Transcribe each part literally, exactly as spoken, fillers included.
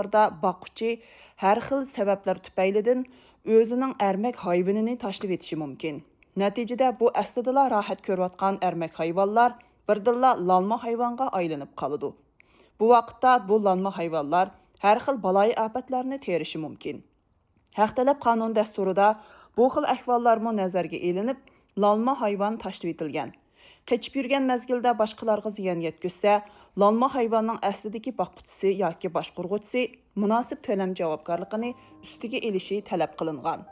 ئەھۋاللاردا باققۇچى ھەر خىل سەۋەبلەر تۈپەيلىدىن ئۆزىنىڭ ئەرمەك ھايۋىنىنى تاشلىۋېتىشى مۇمكىن. نەتىجىدە بۇ ئەسلىدىلا راھەت كۆرۈۋاتقان ئەرمەك ھايۋانلار بىردىنلا لالما ھايۋانغا ئايلىنىپ قالىدۇ. بۇ ۋاقىتتا بۇ لالما ھايۋانلار ھەر خىل بالايىئاپەتلەرنى تېرىشى مۇمكىن. ھەق تەلەپ قانۇن دەستۇرىدا بۇ خىل ئەھۋاللارمۇ نەزەرگە ئېلىنىپ، لالما ھايۋان تاشلىۋېتىلگەن. قېچىپ يۈرگەن مەزگىلدە باشقىلارغا زىيان يەتكۈزسە، لالما ھايۋاننىڭ ئەسلىدىكى باققۇچىسى ياكى باشقۇرغۇچىسى مۇناسىپ تۆلەم جاۋابكارلىقىنى ئۈستىگە ئېلىشى تەلەپ قىلىنغان.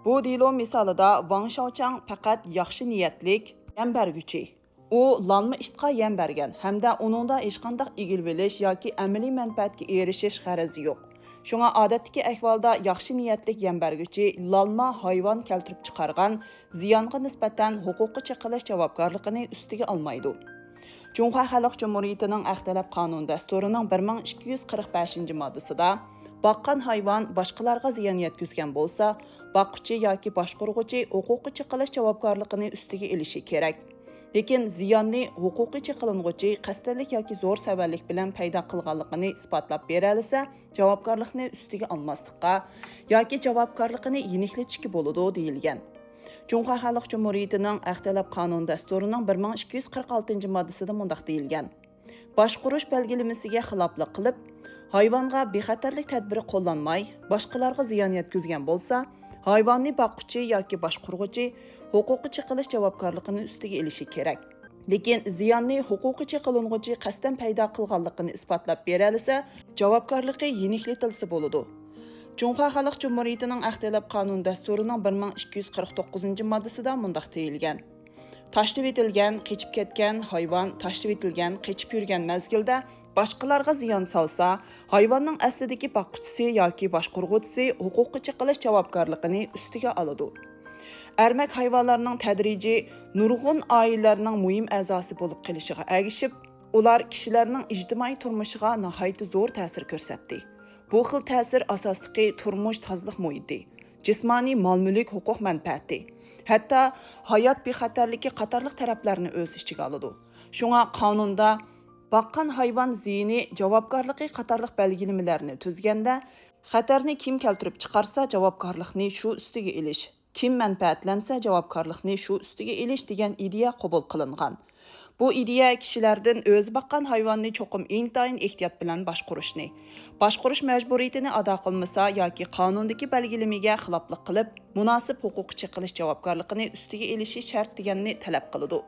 بۇ دېلو مىسالىدا ۋاڭ شاۋچاڭ پەقەت ياخشى نىيەتلىك يەم بەرگۈچى. ئۇ لالما ئىتقا يەم بەرگەن ھەمدە ئۇنىڭدا ھېچقانداق ئىگىلىۋېلىش ياكى ئەمەلىي مەنپەئەتكە ئېرىشىش غەرىزى يوق. شۇڭا ئادەتتىكى ئەھۋالدا ياخشى نىيەتلىك يەم بەرگۈچى لالما ھايۋان كەلتۈرۈپ چىقارغان زىيانغا نىسبەتەن ھوقۇققا چېقىلىش جاۋابكارلىقىنى ئۈستىگە ئالمايدۇ. جۇڭخۇا خەلق جۇمھۇرىيىتىنىڭ ھەق تەلەپ قانۇن دەستۇرىنىڭ بىر مىڭ ئىككى يۈز قىرىق بەشىنچى ماددىسىدا، باققان ھايۋان باشقىلارغا زىيان يەتكۈزگەن بولسا، باققۇچى ياكى باشقۇرغۇچى ھوقۇققا چېقىلىش جاۋابكارلىقىنى ئۈستىگە ئېلىشى كېرەك. لېكىن زىياننى ھوقۇققا چېقىلىنغۇچى قەستەنلىك ياكى زور سەۋەنلىك بىلەن پەيدا قىلغانلىقىنى ئىسپاتلاپ بېرەلىسە، جاۋابكارلىقنى ئۈستىگە ئالماسلىققا ياكى جاۋابكارلىقىنى يېنىكلىتىشكە بولىدۇ، دېيىلگەن. جۇڭخۇا خەلق جۇمھۇرىيىتىنىڭ ھەق تەلەپ قانۇن دەستۇرىنىڭ بىر مىڭ ئىككى يۈز قىرىق ئالتىنچى ماددىسىدا مۇنداق دېيىلگەن: باشقۇرۇش بەلگىلىمىسىگە خىلاپلىق قىلىپ، ھايۋانغا بىخەتەرلىك تەدبىرى قوللانماي، باشقىلارغا زىيان يەتكۈزگەن بولسا، ھايۋاننى باققۇچى ياكى باشقۇرغۇچى ھوقۇققا چېقىلىش جاۋابكارلىقىنى ئۈستىگە ئېلىشى كېرەك. لېكىن زىياننى ھوقۇققا چېقىلىنغۇچى قەستەن پەيدا قىلغانلىقىنى ئىسپاتلاپ بېرەلىسە، جاۋابكارلىقى يېنىكلىتىلسە بولىدۇ. جۇڭخۇا خەلق جۇمھۇرىيىتىنىڭ ھەق تەلەپ قانۇن دەستۇرىنىڭ بىر مىڭ ئىككى يۈز قىرىق توققۇزىنچى ماددىسىدا مۇنداق دېيىلگەن: تاشلىۋېتىلگەن، قېچىپ كەتكەن ھايۋان تاشلىۋېتىلگەن، قېچىپ يۈرگەن مەزگىلدە باشقىلارغا زىيان سالسا، ھايۋاننىڭ ئەسلىدىكى باققۇچىسى ياكى باشقۇرغۇچىسى ھوقۇققا چېقىلىش جاۋابكارلىقىنى ئۈستىگە ئالىدۇ. ئەرمەك ھايۋانلارنىڭ تەدرىجىي نۇرغۇن ئائىلىلەرنىڭ مۇھىم ئەزاسى بولۇپ قېلىشىغا ئەگىشىپ، ئۇلار كىشىلەرنىڭ ئىجتىمائىي تۇرمۇشىغا ناھايىتى زور تەسىر كۆرسەتتى. بۇ خىل تەسىر ئاساسلىقى تۇرمۇش تازىلىق مۇھىتى، جىسمانىي مال-مۈلۈك ھوقۇق مەنپەئەتى، ھەتتا ھايات بىخەتەرلىكى قاتارلىق تەرەپلەرنى ئۆز ئىچىگە ئالىدۇ. شۇڭا قانۇندا باققان ھايۋان زىيىنى جاۋابكارلىقى قاتارلىق بەلگىلىمىلەرنى تۈزگەندە، خەتەرنى كىم كەلتۈرۈپ چىقارسا، جاۋابكارلىقنى شۇ ئۈستىگە ئېلىش، كىم مەنپەئەتلەنسە، جاۋابكارلىقنى شۇ ئۈستىگە ئېلىش دېگەن ئىدىيە قوبۇل قىلىنغان. بۇ ئىدىيە كىشىلەردىن ئۆزى باققان ھايۋاننى چوقۇم ئىنتايىن ئېھتىيات بىلەن باشقۇرۇشنى، باشقۇرۇش مەجبۇرىيىتىنى ئادا قىلمىسا ياكى قانۇندىكى بەلگىلىمىگە خىلاپلىق قىلىپ، مۇناسىپ ھوقۇققا چېقىلىش جاۋابكارلىقىنى ئۈستىگە ئېلىشى شەرت دېگەننى تەلەپ قىلىدۇ.